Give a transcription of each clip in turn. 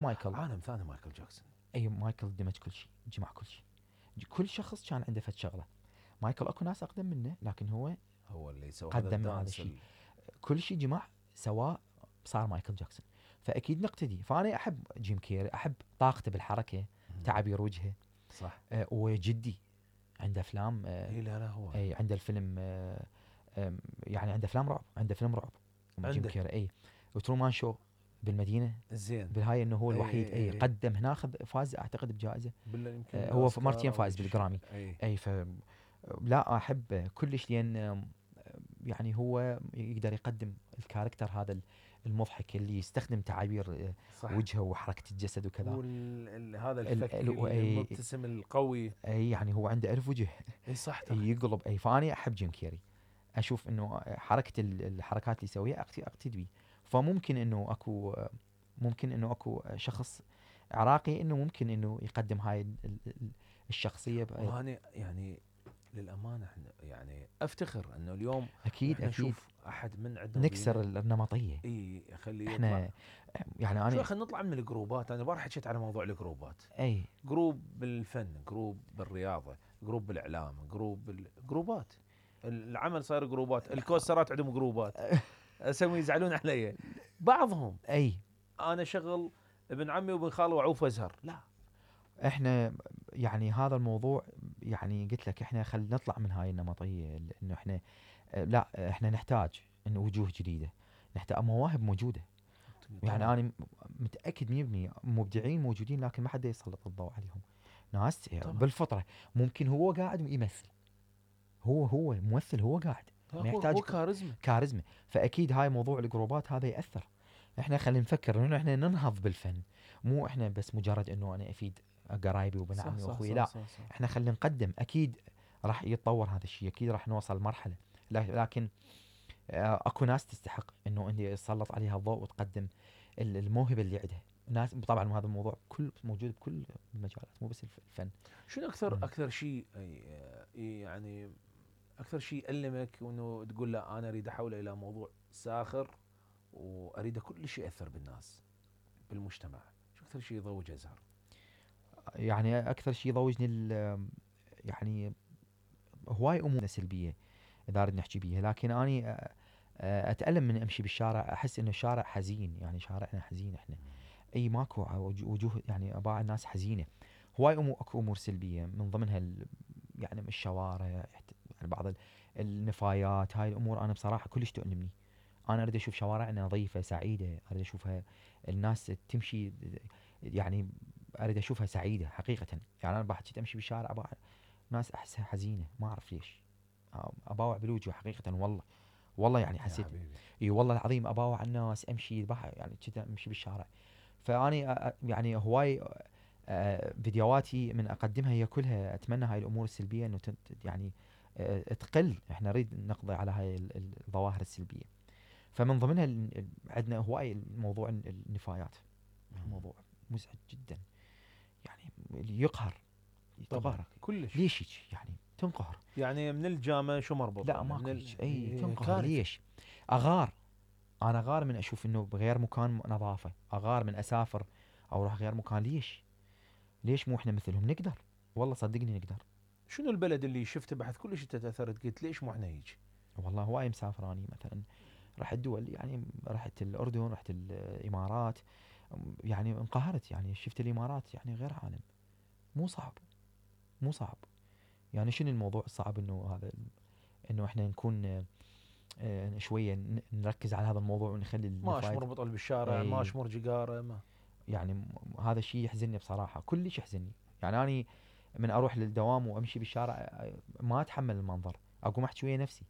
مايكل عالم ثاني مايكل جاكسون. اي مايكل دمج كل شيء، جمع كل شيء. كل شخص كان عنده فد شغله. مايكل اكو ناس اقدم منه لكن هو اللي سوى قدم هذا الشيء، كل شيء جمع سواء صار مايكل جاكسون. فاكيد نقتدي. فانا احب جيم كيري، احب طاقته بالحركه، تعابير وجهه. صح. وجدي عنده افلام. لا هو عنده الفيلم يعني عنده افلام رعب، عنده فيلم رعب جيم كيري. وترومان شو بالمدينه زين بالهاي انه هو الوحيد قدم هنا، فاز اعتقد بجائزه. هو مرتين فاز بالجرامي. ف لا احب كلش لان يعني هو يقدر يقدم الكاركتر هذا المضحك اللي يستخدم تعابير وجهه وحركه الجسد وكذا، هذا الفك المبتسم القوي. يعني هو عنده ألف وجه. صح يقلب. فاني احب جيم كيري، اشوف انه حركه الحركات اللي يسويها اقتدي بيه. فممكن انه اكو شخص عراقي انه ممكن انه يقدم هاي الشخصيه. وانا يعني للامانه احنا يعني افتخر انه اليوم اكيد نشوف احد من عندنا نكسر النمطيه. خليه احنا يطلع. يعني انا خلينا نطلع من الجروبات. انا بارح حكيت على موضوع الجروبات. جروب بالفن، جروب بالرياضه، جروب بالاعلام، جروبات. العمل صاير جروبات. الكوسرات عندهم جروبات. اسوي يزعلون علي بعضهم. انا شغل ابن عمي وابن خالي وعوف وازهر. لا احنا يعني هذا الموضوع يعني قلت لك احنا خلينا نطلع من هاي النمطيه، انه احنا لا احنا نحتاج انه وجوه جديده، نحتاج مواهب موجوده. يعني انا متاكد 100% مبدعين موجودين لكن ما حد يسلط الضوء عليهم. ناس بالفطره ممكن هو قاعد يمثل، هو ممثل، هو قاعد ما يحتاج هو كاريزما. فاكيد هاي موضوع الجروبات هذا ياثر. احنا خلينا نفكر انه احنا ننهض بالفن، مو احنا بس مجرد انه انا افيد قرايبي وبن عمي واخوي. لا صح. احنا خلينا نقدم. اكيد راح يتطور هذا الشيء، اكيد راح نوصل مرحله، لكن اكو ناس تستحق انه انت يسلط عليها الضوء وتقدم الموهبه اللي عندها. ناس طبعا هذا الموضوع كل موجود بكل المجالات مو بس الفن. شنو اكثر شيء يعني اكثر شيء ألمك وانه تقول لا انا اريد احوله الى موضوع ساخر واريد كل شيء ياثر بالناس بالمجتمع؟ شو اكثر شيء يضوج ازهر؟ يعني اكثر شيء يضوجني يعني هواي امور سلبيه اذا اريد نحكي بيها، لكن اني اتالم من امشي بالشارع، احس انه الشارع حزين. يعني شارعنا حزين احنا. ماكو وجوه، يعني اباع الناس حزينه. هواي اكو امور سلبيه من ضمنها يعني الشوارع، يعني بعض النفايات. هاي الامور انا بصراحه كلش تؤلمني. انا اريد اشوف شوارعنا نظيفه سعيده، اريد اشوفها الناس تمشي، يعني اريد اشوفها سعيده حقيقه. يعني انا بحكي امشي بالشارع اباع ناس احسها حزينه، ما اعرف ليش. اباوع بالوجه حقيقه. والله يعني حسيت والله العظيم اباوع الناس امشي يعني كذا امشي بالشارع. فاني يعني هواي فيديوهاتي من اقدمها هي كلها اتمنى هاي الامور السلبيه انه يعني تقل. احنا نريد نقضي على هاي الظواهر السلبيه. فمن ضمنها عندنا هواي موضوع النفايات. موضوع مزعج جدا، يعني اللي يقهر طبعا كلش. ليش يعني تنقهر؟ يعني من الجامعه شو مربوط؟ لا ماكو تنقهر ليش؟ اغار. انا غار من اشوف انه بغير مكان نظافه، اغار من اسافر او اروح غير مكان. ليش مو احنا مثلهم؟ نقدر، والله صدقني نقدر. شنو البلد اللي شفته بعد كلش انت تاثرت قلت ليش مو احنا هيك؟ والله هواي مسافر اني مثلا رحت دول، يعني رحت الاردن، رحت الامارات، يعني انقهرت. يعني شفت الامارات يعني غير عالم. مو صعب. يعني شنو الموضوع الصعب؟ انه هذا انه احنا نكون شويه نركز على هذا الموضوع ونخلي ماش مربوط بالشارع، ماش مرجقاره ما. يعني هذا الشيء يحزنني بصراحه، كلش يحزنني. يعني اني من اروح للدوام وامشي بالشارع ما اتحمل المنظر، اقوم احكي ويا نفسي.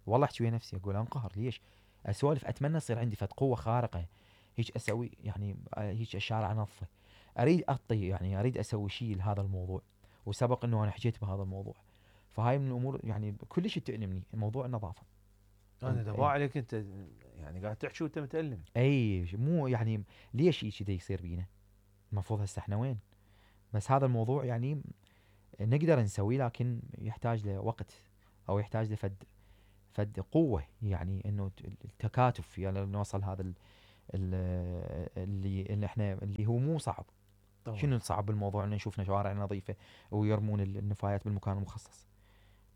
والله احكي ويا نفسي اقول انقهر ليش؟ اسولف اتمنى يصير عندي فد قوه خارقه هيك اسوي، يعني هيك الشارع انظفه. اريد اعطي، يعني اريد اسوي شيء لهذا الموضوع، وسبق انه انا حكيت بهذا الموضوع. فهاي من الامور يعني كلش تؤلمني موضوع النظافه. انا دبا عليك انت يعني قاعد تحكي وانت متألم. مو يعني ليش شيء كذا يصير بينا؟ المفروض هسه احنا وين؟ بس هذا الموضوع يعني نقدر نسويه لكن يحتاج له وقت، او يحتاج له فد قوة، يعني انه التكاتف يعني نوصل هذا اللي احنا اللي هو مو صعب. طبعا. شنو الصعب بالموضوع ان نشوفنا شوارع نظيفه ويرمون النفايات بالمكان المخصص؟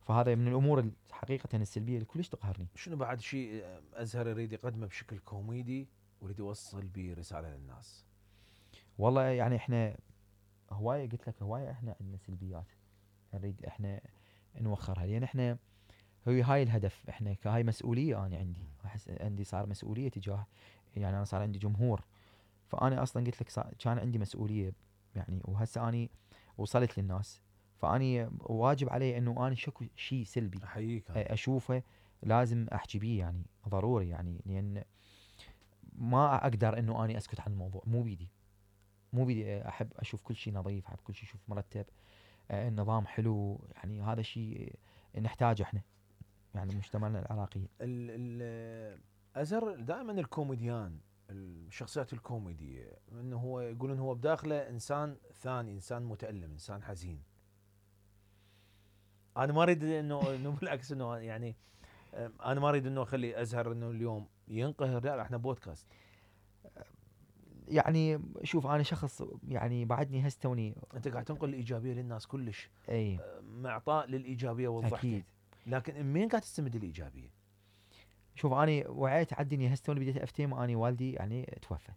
فهذا من الامور حقيقه السلبيه اللي كلش تقهرني. شنو بعد شيء ازهر يريد يقدمه بشكل كوميدي ويريد يوصل به رساله للناس؟ والله يعني احنا هوايه، قلت لك هوايه احنا عندنا سلبيات نريد احنا نوخرها، لان احنا هاي الهدف، احنا كهاي مسؤوليه. انا عندي احس عندي صار مسؤوليه تجاه، يعني انا صار عندي جمهور. فانا اصلا قلت لك كان عندي مسؤوليه يعني، وهسه اني وصلت للناس، فاني واجب علي انه اني شكو شيء سلبي احييك اشوفه لازم احكي بيه، يعني ضروري، يعني لان ما اقدر انه اني اسكت عن الموضوع. مو بيدي، مو بيدي. احب اشوف كل شيء نظيف، احب كل شيء اشوف مرتب، النظام حلو. يعني هذا الشيء نحتاجه احنا، يعني مجتمعنا العراقي. ازهر دائما الكوميديان، الشخصيات الكوميدية، انه هو يقولون هو بداخله انسان ثاني، انسان متألم، انسان حزين. انا ما اريد انه بالعكس انه يعني انا ما اريد انه اخلي ازهر انه اليوم ينقهر، لا احنا بودكاست. يعني شوف انا شخص يعني بعدني هستوني. انت قاعد تنقل الايجابيه للناس كلش، اي معطاء للايجابيه والضحكه، اكيد. لكن منين قاعد تستمد الايجابيه؟ شوف انا وعيت عدني هستوني بديت افتهم. اني والدي يعني توفى،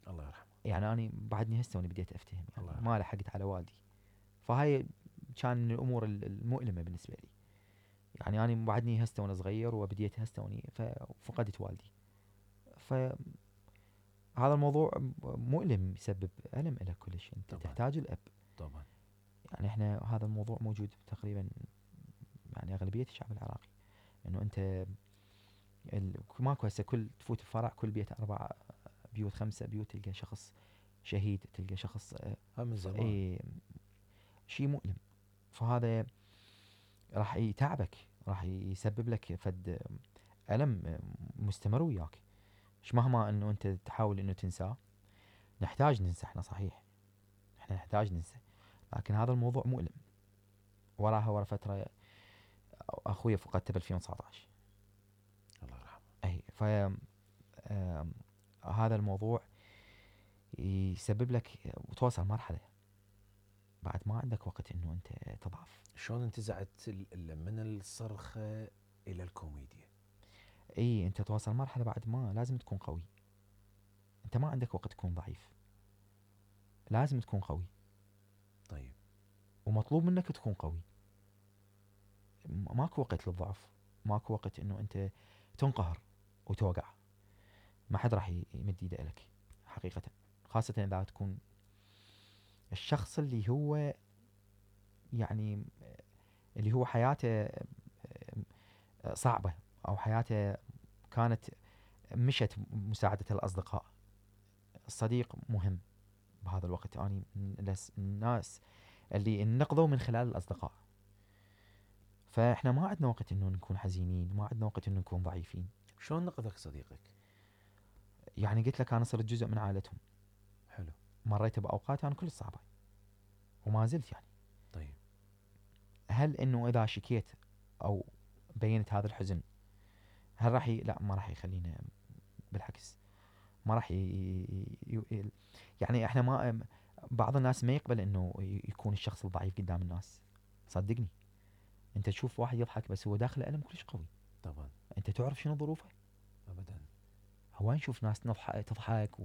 الله يرحمه. يعني اني بعدني هستوني بديت افتهم، الله يعني يرحمه. ما لحقت على والدي. فهاي كان من الامور المؤلمه بالنسبه لي. يعني انا بعدني هسه وانا صغير وبديت هسه وني ففقدت والدي. فهذا الموضوع مؤلم، يسبب الم لك كلش. انت طبعا. تحتاج الاب. طبعا. يعني احنا هذا الموضوع موجود تقريبا يعني اغلبيه الشعب العراقي، انه انت ماكو هسه كل تفوت الفرع كل بيت 4 بيوت 5 بيوت تلقى شخص شهيد، تلقى شخص من زمان. شيء مؤلم. فهذا راح يتعبك، راح يسبب لك فد ألم مستمر وياك. مش مهما انه انت تحاول انه تنساه. نحتاج ننسى احنا، صحيح احنا نحتاج ننسى، لكن هذا الموضوع مؤلم. وراها ورا فترة اخوي فقدته ب 2019. الله يرحمه. اي هذا الموضوع يسبب لك وتوصل مرحلة بعد ما عندك وقت انه انت تضعف. شلون انتزعت من الصرخه الى الكوميديا؟ اي انت توصل مرحلة بعد ما لازم تكون قوي. انت ما عندك وقت تكون ضعيف، لازم تكون قوي. طيب. ومطلوب منك تكون قوي. ماكو وقت للضعف، ماكو وقت انه انت تنقهر وتوقع. ما حد راح يمد ايده لك حقيقة، خاصة اذا تكون الشخص اللي هو يعني اللي هو حياته صعبة، او حياته كانت مشت مساعدة الاصدقاء. الصديق مهم بهذا الوقت. اني من الناس اللي انقذوا من خلال الاصدقاء. فاحنا ما عندنا وقت انه نكون حزينين، ما عندنا وقت انه نكون ضعيفين. شلون نقذك صديقك؟ يعني قلت لك انا صرت جزء من عائلتهم. حلو. مريت باوقات انا كلش صعبة وما زلت يعني. طيب. هل انه اذا شكيت او بينت هذا الحزن، هل راح لا ما راح يخلينا، بالعكس ما راح يعني احنا ما بعض الناس ما يقبل انه يكون الشخص الضعيف قدام الناس. صدقني انت تشوف واحد يضحك بس هو داخله ألم كلش قوي. طبعا. انت تعرف شنو ظروفه؟ ابدا. هو نشوف ناس تضحك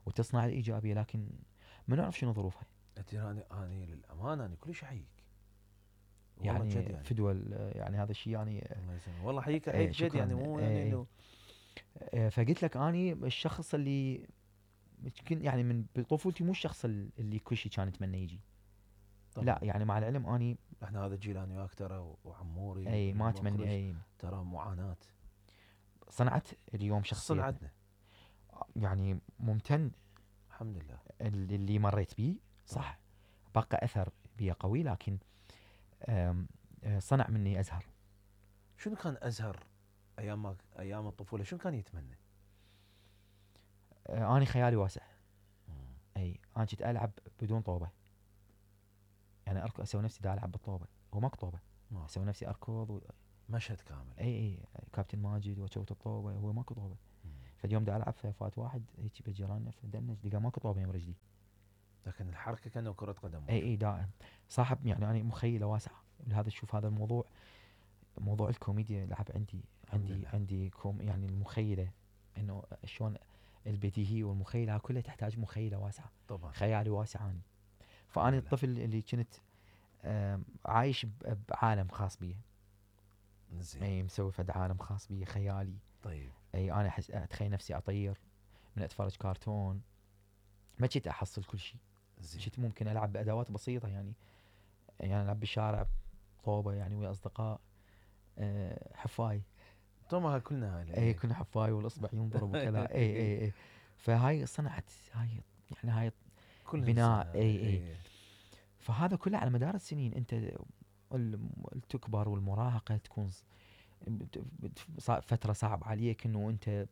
وتصنع الايجابيه، لكن ما نعرف شنو ظروفها. انا للامانه انا كلش احييك، والله يعني جد يعني. فدوى يعني هذا الشيء يعني. الله يسلمك، والله احييك جد شكرا. يعني، مو يعني انه فقلت لك اني الشخص اللي يعني من بطفولتي مو الشخص اللي كل شيء كان يتمنى يجي. طبعا. لا يعني مع العلم اني احنا هذا الجيل انا وياك ترى وعموري اي ما اتمنى اي ترى معاناه. صنعت اليوم شخصيتنا. صنعتنا. يعني ممتن الحمد لله. اللي مريت بيه صح، بقى اثر بي قوي، لكن صنع مني ازهر. شنو كان ازهر ايام الطفوله، شنو كان يتمنى؟ اني خيالي واسع. اي انا كنت العب بدون طوبه، يعني اركض اسوي نفسي دا العب بالطوبه، هو ماكو طوبه. اسوي نفسي اركض مشهد كامل. اي كابتن ماجد واشوت الطوبه، هو ماكو طوبه. فاليوم دا العب فات واحد هيك بجيراننا فدنج لقى ماكو طوبه يم رجلي. لكن الحركه كانه كره قدم. اي دائم صاحب يعني انا مخيله واسعه لهذا. شوف هذا الموضوع، موضوع الكوميديا لعب عندي يعني المخيله انه شلون البديهيه والمخيله كلها تحتاج مخيله واسعه. طبعا خيالي واسع اني. فانا الطفل اللي كنت عايش بعالم خاص بي. زين. اي مسوي فد عالم خاص بي خيالي. طيب. اي انا اتخيل نفسي اطير من اتفرج كرتون. ما كنت احصل كل شيء. كنت ممكن العب بادوات بسيطه يعني العب بالشارع طوبه يعني ويا اصدقاء حفاي. طبعا كلنا هاي. اي كنا حفاي والاصبع ينضرب وكذا. اي فهاي صنعت هاي بناء. اي فهذا كله على مدار السنين انت تكبر والمراهقه تكون فتره صعب عليك انه انت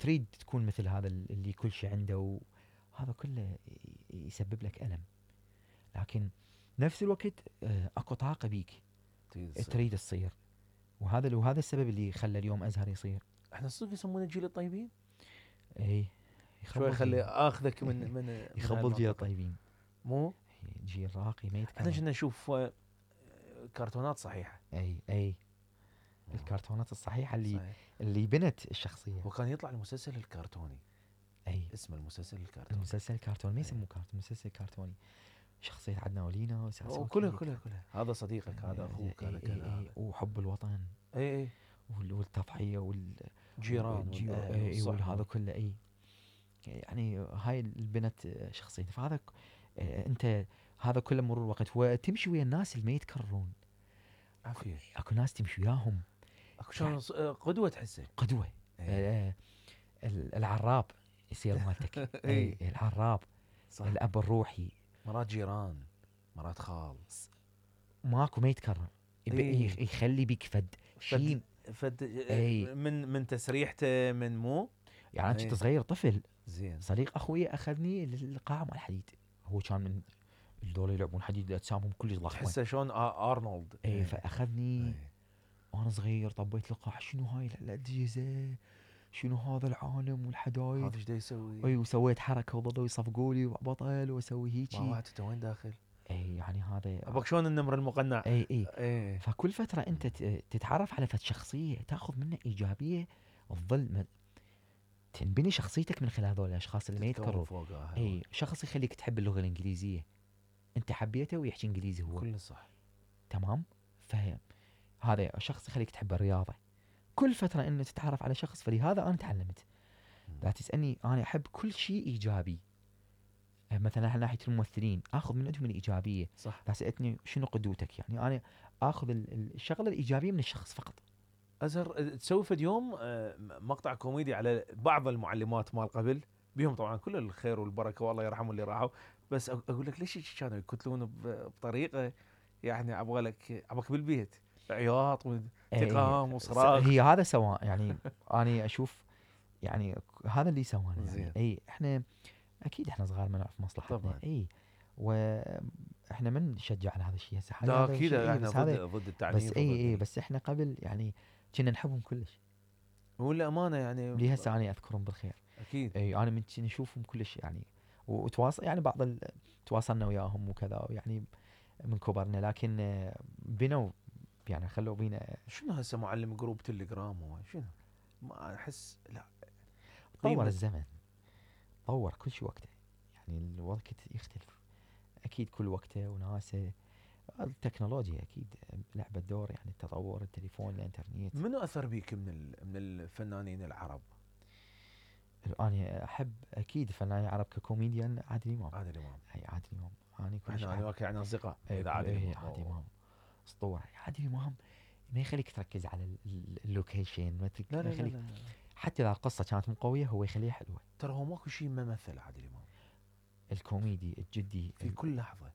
تريد تكون مثل هذا اللي كل شيء عنده، وهذا كله يسبب لك الم. لكن نفس الوقت اكو طاقه بيك تريد تصير. وهذا السبب اللي خلى اليوم ازهر يصير. احنا صدق يسمونه جيل الطيبين. اي شوي خلي اخذك من يخبل جيل الطيبين، مو جيل راقي ما يتكلم. احنا كنا نشوف كرتونات صحيحه. اي الكرتونات الصحيحه صحيح. اللي بنت الشخصيه. وكان يطلع المسلسل الكرتوني. اسم المسلسل الكرتوني. المسلسل الكرتوني ما يسموه كرتون، مسلسل كرتوني. شخصيه عدنا ولينا كلها هذا صديقك هذا اخوك هذا كذا. وحب الوطن. اي والتضحيه والجيران وهذا كله. يعني هاي البنت شخصيتي. فهذا انت هذا كله مرور الوقت وتمشي ويا الناس اللي ما يتكررون. عافيه. اكو ناس تمشي وياهم اكو شلون قدوه تحسه. قدوه. العراب يصير مالتك. العراب صح. الاب الروحي. مرات جيران، مرات خال. ماكو ما يتكرر. يخلي بيك فد من تسريحته من مو يعني. انا كنت صغير طفل. زين. صديق اخوي اخذني للقاعه مال الحديد. هو كان من الدول يلعبون حديد اجسامهم كلش ضخمه. تحسه شلون ارنولد. فاخذني وانا صغير. طبيت القاعه. شنو هاي الاجهزه؟ شنو هذا العالم والحدايد؟ هذا ايش دا يسوي؟ وسويت حركه وظلوا يصفقوا لي بطل واسوي هيجي. ما وعدت وين داخل؟ يعني هذا ابغى شلون النمر المقنع. اي فكل فتره انت تتعرف على فد شخصيه تاخذ منها ايجابيه تظل تنبني شخصيتك من خلال هذول الاشخاص اللي ما يتكرروا. شخص يخليك تحب اللغه الانجليزيه، انت حبيته ويحكي انجليزي هو كله صح تمام. هذا شخص يخليك تحب الرياضه. كل فتره انه تتعرف على شخص. فلهذا انا تعلمت. لا تسالني انا احب كل شيء ايجابي. مثلا على ناحيه الممثلين اخذ من عندهم الايجابيه. صح. لا سالتني شنو قدوتك، يعني انا اخذ الشغله الايجابيه من الشخص فقط. ازهر تسوي في اليوم مقطع كوميدي على بعض المعلمات مال قبل، بيهم طبعا كل الخير والبركه والله يرحمهم اللي راحوا، بس اقول لك ليش كانوا يقتلون بطريقه يعني ابغاك بالبيت عياط وانتقام وصراخ. هي هذا سواء يعني. انا اشوف يعني هذا اللي سوانا يعني. احنا اكيد احنا صغار ما نعرف مصلحتنا طبعا. واحنا ما نشجع على هذا الشيء هسه. لا اكيد احنا ضد التعنيف. بس بس احنا قبل يعني كنا نحبهم كلش. والامانه يعني لي هسه انا اذكرهم بالخير. اكيد. انا من نشوفهم كلش يعني. وتواصل يعني تواصلنا وياهم وكذا يعني من كبرنا. لكن بنوا يعني خلوا بينا. شنو هسه معلم جروب تليجرام شنو؟ ما احس لا طور الزمن، طور كل شيء وقته يعني. الوقت يختلف اكيد كل وقته وناسه. التكنولوجيا اكيد لعبت دور يعني. التطور التليفون الانترنت. منو اثر بيك من الفنانين العرب؟ انا احب اكيد فنانين عرب ككوميديان. عادل امام. عادل امام انا كل شيء احنا يعني اصدقاء. عادل امام اسطوره. عادل امام ما يخليك تركز على اللوكيشن. ما يخليك حتى اذا القصه كانت مو قويه هو يخليها حلوه. ترى هو ماكو شيء ما مثل عادل امام. الكوميدي الجدي في كل لحظه.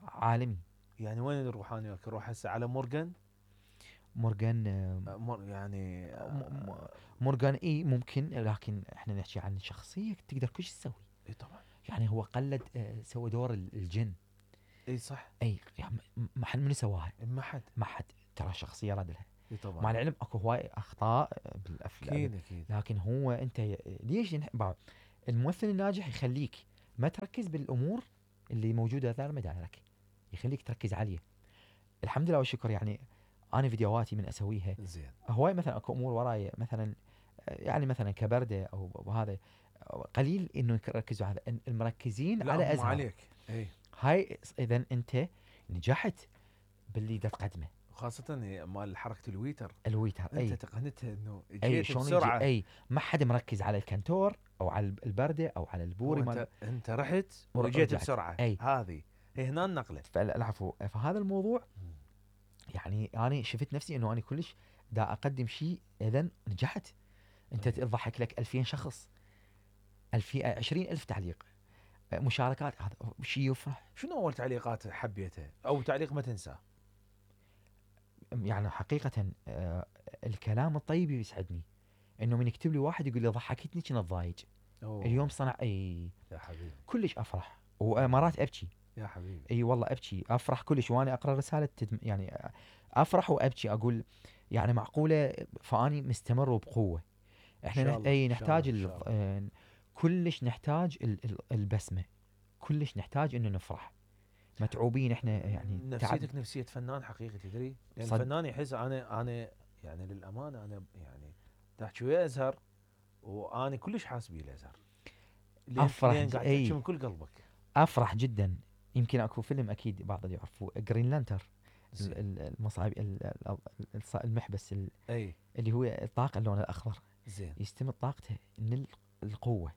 عالمي يعني. وين نروح انا وياك؟ نروح هسه على مورغان يعني مورغان ممكن. لكن احنا نحكي عن شخصيه تقدر كل شيء تسوي. طبعا. يعني هو قلد سوى دور الجن. صح. يعني ما حد من سواها. ما حد. ترى شخصيه راد لها. طبعا. مع العلم اكو هواي اخطاء بالافلام، اكيد. لكن هو انت ليش الممثل الناجح يخليك ما تركز بالامور اللي موجوده دار مدارك، يخليك تركز عليه. الحمد لله والشكر يعني انا فيديوهاتي من اسويها زين. هواي مثلا اكو امور وراي مثلا يعني مثلا كبرده او هذا قليل انه يركزوا على المركزين لا على هم ازهر عليك. اي هاي اذا انت نجحت باللي دا تقدمه. خاصة مال حركة الويتر، الويتر انت اي تقنتها انه اي جيت شلون يجي بسرعة. اي ما حد مركز على الكنتور او على البرده او على هو البوري مال انت رحت ورجيت ورجعت. بسرعة. اي هذه هي هنا النقلة. العفو. فهذا الموضوع يعني انا شفت نفسي انه انا كلش دا اقدم شيء اذا نجحت. انت أي. تضحك لك 2000 شخص 20,000 تعليق مشاركات، هذا شيء يفرح. شنو اول تعليقات حبيتها او تعليق ما تنساه؟ يعني حقيقة الكلام الطيب يسعدني، انه من يكتب لي واحد يقول لي ضحكتني كنت ضايج اليوم صنع اي يا حبيبي كلش افرح، ومرات ابكي. يا حبيبي. اي والله ابكي افرح كلش وانا اقرا رسالة يعني افرح وابكي اقول يعني معقولة. فاني مستمر وبقوة. احنا إن شاء الله، اي إن شاء نحتاج الله، إن شاء الله. كلش نحتاج البسمة، كلش نحتاج انه نفرح. متعوبين احنا يعني نفسيتك نفسية فنان حقيقي تدري، لان الفنان يحس انا يعني للامانة انا يعني تحكي ويا ازهر وانا كلش حاس بيه الازهر. افرح لين قاعد تحكي من كل قلبك. افرح جدا. يمكن اكو فيلم اكيد بعض اللي يعرفوه جرين لانتر، المصايب المحبس اي اللي هو الطاقه اللون الاخضر. زين. يستمد طاقته من القوه.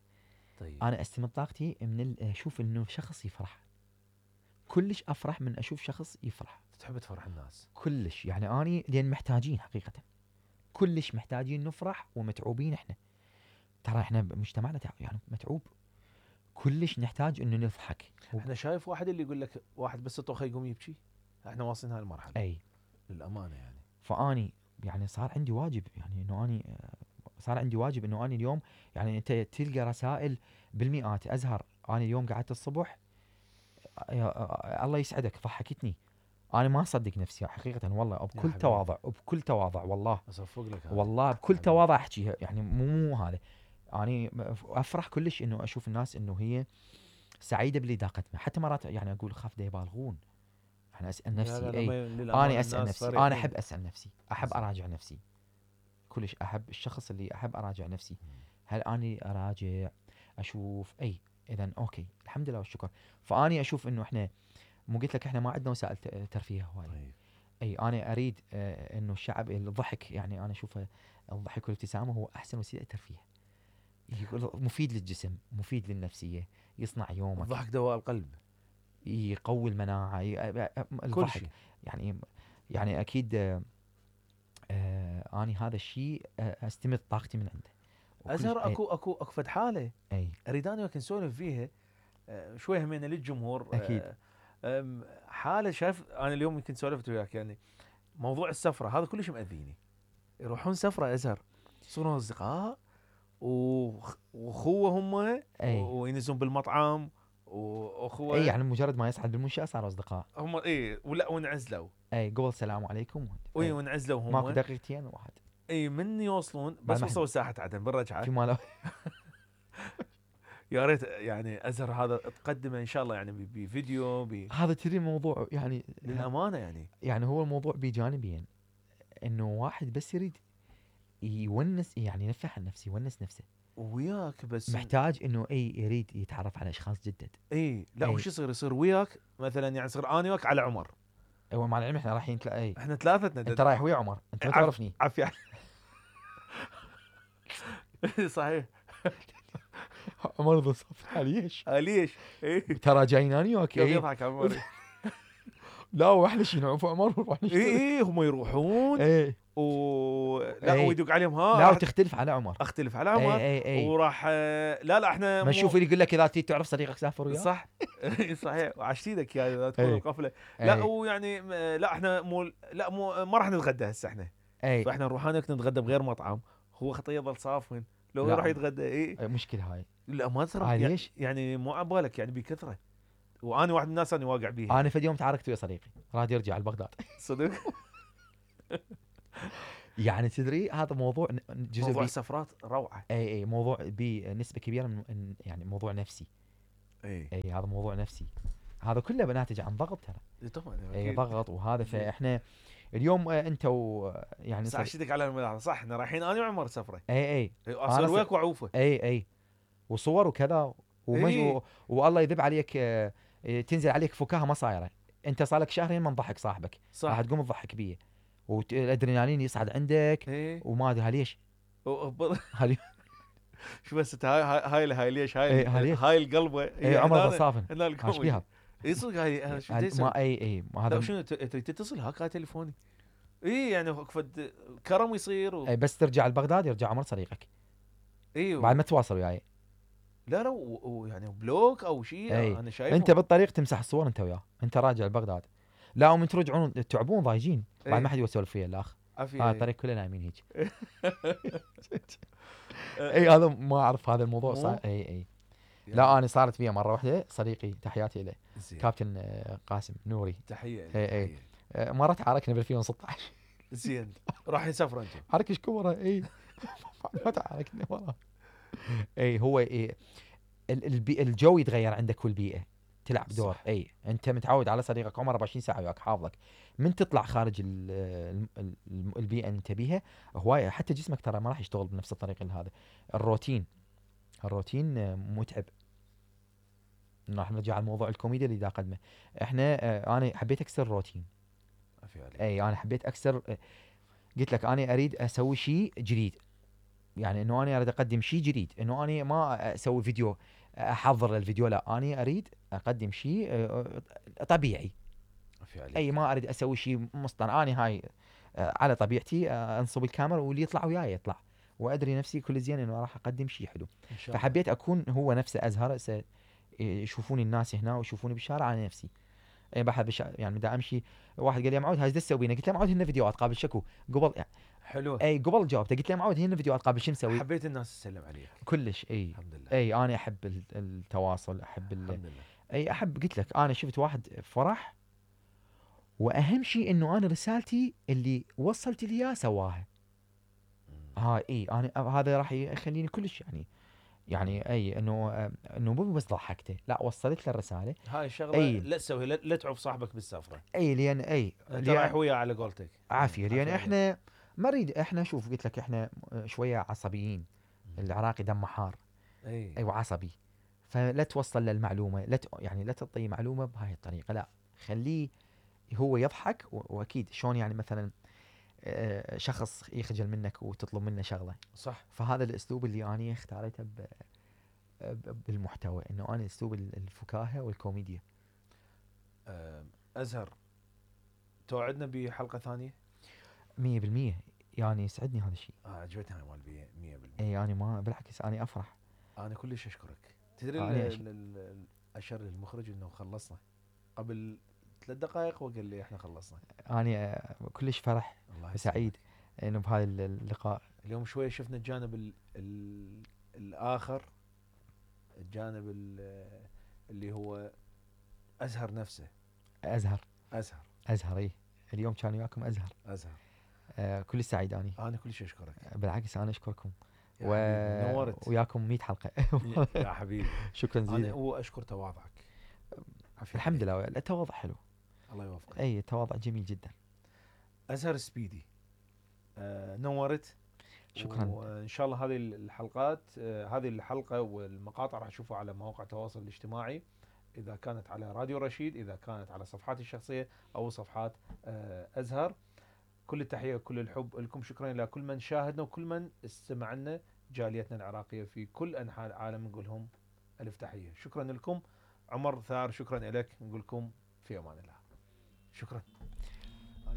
طيب انا استمد طاقتي من اشوف انه شخص يفرح. كلش افرح من اشوف شخص يفرح. تحب تفرح الناس كلش يعني اني لان محتاجين حقيقه، كلش محتاجين نفرح ومتعوبين احنا. ترى احنا مجتمعنا يعني متعوب، كلش نحتاج انه نضحك. احنا شايف واحد اللي يقول لك واحد بس طوخه يقوم يبكي. احنا واصلين هاي المرحله اي للامانه يعني. فاني يعني صار عندي واجب، يعني انه اني صار عندي واجب انه اني اليوم يعني انت تلقى رسائل بالمئات. ازهر انا اليوم قعدت الصبح الله يسعدك ضحكتني. انا ما اصدق نفسي حقيقه والله، بكل تواضع وبكل تواضع والله اصفق لك والله بكل تواضع احكيها يعني مو هذا. اني افرح كلش انه اشوف الناس انه هي سعيده باللي داقتنا. حتى مرات يعني اقول خاف دا يبالغون. انا اسال نفسي لا اي انا اسال نفسي انا احب اسال نفسي، احب اراجع نفسي. كلش احب الشخص اللي احب اراجع نفسي. هل اني اراجع اشوف اي اذا اوكي الحمد لله والشكر. فاني اشوف انه احنا مو قلت لك احنا ما عندنا وسائل ترفيه هواي. اي انا اريد انه الشعب الضحك، يعني انا اشوف الضحك والابتسامه هو احسن وسيله ترفيه. يقول مفيد للجسم، مفيد للنفسيه، يصنع يومك. الضحك دواء القلب، يقوي المناعه الضحك يعني اكيد. اني هذا الشيء استمد طاقتي من عنده. ازهر اكو فد حاله اي اريد انا وياك نسولف فيها شوي همينه للجمهور. اكيد. حاله شايف انا اليوم يمكن سولفت وياك يعني موضوع السفره هذا كلش مأذيني. يروحون سفره ازهر يصيرون اصدقاء واخوه هم وينزلون بالمطعم واخوه اي يعني مجرد ما يصعد بالمنشاه صاروا اصدقاء هم. اي ولا وانعزلوا. اي قبل السلام عليكم اي وانعزلوا هم ماكو دقيقتين واحد. اي من يوصلون بس وصلوا ساحه عدن بالرجعه في ماله يا ريت يعني ازهر هذا تقدمه ان شاء الله يعني بفيديو هذا تري موضوع يعني للامانه يعني هو الموضوع بجانبين، انه واحد بس يريد يونس يعني ينفع عن نفسه يونس نفسه وياك، بس محتاج انه يريد يتعرف على اشخاص جدد. لا وش يصير وياك مثلا يعني يصير انا وياك على عمر. هو مع العلم احنا رايحين احنا ثلاثتنا انت رايح ويا عمر انت ما تعرفني. عافيه صحيح عمر ذا صف ليش؟ ليش؟ ترى جايين انا وياك. يضحك عمر لا واحنا شي نعرف عمر ونروح نشتري. هم يروحون لا ويدق عليهم لا وتختلف على عمر. اختلف على عمر وراح لا احنا ما نشوف اللي يقول لك اذا تريد تعرف صديقك سافر وياه. صح صحيح وعشت ايدك يا اذا تكون القفله. لا ويعني لا احنا مو ما راح نتغدى هسه احنا. فاحنا نروح هناك نتغدى بغير مطعم. هو خطيه يظل صافن لو يروح يتغدى. مشكله هاي. لا ما ترى ليش؟ يعني مو عبالك يعني بكثره. وانا واحد من الناس انا واقع بيها. انا في يوم تعاركت ويا صديقي راد يرجع لبغداد صدق يعني تدري هذا موضوع جزء موضوع السفرات روعه. اي موضوع بنسبه كبيره يعني موضوع نفسي. اي هذا موضوع نفسي، هذا كله بناتج عن ضغط ترى. طبعا اي اكيد. ضغط وهذا. فاحنا اليوم انت يعني بس اشدك على الملاحظه، صح احنا رايحين انا وعمر سفره. اي اصل وياك وعوفه. اي وصور وكذا اي والله يذب عليك. تنزل عليك فكاهه ما صايره. انت صار لك شهرين ما نضحك صاحبك، راح صح. تقوم تضحك بيه والادرينالين يصعد عندك. اي وما ادري ليش. هالي شو بس هاي ليش هاي ليش؟ هاي القلبه اي عمر بصافن هنا ايش بيها؟ اي صدق هاي شو بدي ما ما هذا شنو تريد تتصل هاك هاي تليفوني. اي يعني فد كرم يصير اي بس ترجع لبغداد يرجع عمر صديقك. اي بعد ما تواصل وياي. لا يعني بلوك او شيء انا شايفه. انت بالطريق تمسح الصور انت وياه، انت راجع لبغداد. لا ومن ترجعون تعبون ضايجين بعد ما حد يسولف فيها الاخ. هذا الطريق كله نايمين هيك. اي هذا ما اعرف هذا الموضوع صار. اي لا انا صارت فيها مره واحده صديقي تحياتي له كابتن قاسم نوري. تحيه. اي مره تعاركنا ب 2016. زين راح يسافر انتم. حركه كبره. اي ما تعاركنا مره. اي هو الجو يتغير عندك والبيئه تلعب دور. اي انت متعود على صديقك عمر 24 ساعه وياك حافظك. من تطلع خارج البيئه اللي انت بيها هوايه، حتى جسمك ترى ما راح يشتغل بنفس الطريقه هذا. الروتين متعب. راح نرجع على موضوع الكوميديا اللي دا قدمه. احنا انا حبيت اكسر الروتين. اي انا حبيت اكسر. قلت لك انا اريد اسوي شيء جديد، يعني انه انا اريد اقدم شيء جديد، انه انا ما اسوي فيديو احضر للفيديو، لا انا اريد اقدم شيء طبيعي. اي ما اريد اسوي شيء مصطنع. انا هاي على طبيعتي انصب الكاميرا واللي يطلع وياي يطلع، وادري نفسي كل زين انه راح اقدم شيء حلو. فحبيت اكون هو نفسه ازهر. يشوفوني الناس هنا ويشوفوني بالشارع على نفسي. اي بحب يعني دا امشي واحد قال لي يا معود هاي ايش تسوي؟ قلت له معود هنا فيديوهات قابل شكو قبل يعني. حلو. اي قبل جاوبته قلت له معود هنا فيديوهات قابل شو نسوي؟ حبيت الناس تسلم عليك كلش. اي الحمد لله. اي انا احب التواصل، احب الحمد لله. اي احب. قلت لك انا شفت واحد فرح، واهم شيء انه انا رسالتي اللي وصلت لي اياها سواها. اي انا هذا راح يخليني كلش يعني اي انه مو بس ضحكته، لا وصلت له الرساله. هاي الشغله لا تسويها، لا تعوف صاحبك بالسفره. اي لان انت رايح وياه على قولتك عافيه. لان احنا ما نريد. احنا شوف قلت لك احنا شويه عصبيين. العراقي دمه حار. اي وعصبي. فلا توصل للمعلومه، يعني لا تعطي معلومه بهاي الطريقه، لا خليه هو يضحك. واكيد شلون يعني مثلا شخص يخجل منك وتطلب منه شغله. صح. فهذا الاسلوب اللي انا اختاريته بالمحتوى، انه انا اسلوب الفكاهه والكوميديا. ازهر توعدنا بحلقه ثانيه 100%. يعني يسعدني هذا الشيء. عجبتني هاي مال 100%. اي انا ما بالعكس انا افرح. انا كلش اشكرك. تدري اشر المخرج انه خلصنا قبل 3 دقائق وقال لي احنا خلصنا. انا كلش فرح وسعيد انه بهذا اللقاء. اليوم شويه شفنا الجانب الاخر، الجانب اللي هو ازهر نفسه. ازهر. اي اليوم كان وياكم ازهر. كلش سعيد انا كلش اشكرك. بالعكس انا اشكركم. نورت وياكم 100 حلقه. يا حبيبي شكرا جزيلا. انا واشكر تواضعك. الحمد لله التواضع حلو. الله يوفقك. اي التواضع جميل جدا. ازهر سبيدي نورت. شكرا. وان شاء الله هذه الحلقات هذه الحلقه والمقاطع راح تشوفوها على مواقع التواصل الاجتماعي، اذا كانت على راديو رشيد، اذا كانت على صفحاتي الشخصيه او صفحات ازهر. كل التحيه وكل الحب لكم. شكرا لكل من شاهدنا وكل من استمع لنا، جاليتنا العراقيه في كل انحاء العالم نقول لهم الف تحيه. شكرا لكم. عمر ثار شكرا لك، نقول لكم في امان الله. شكرا.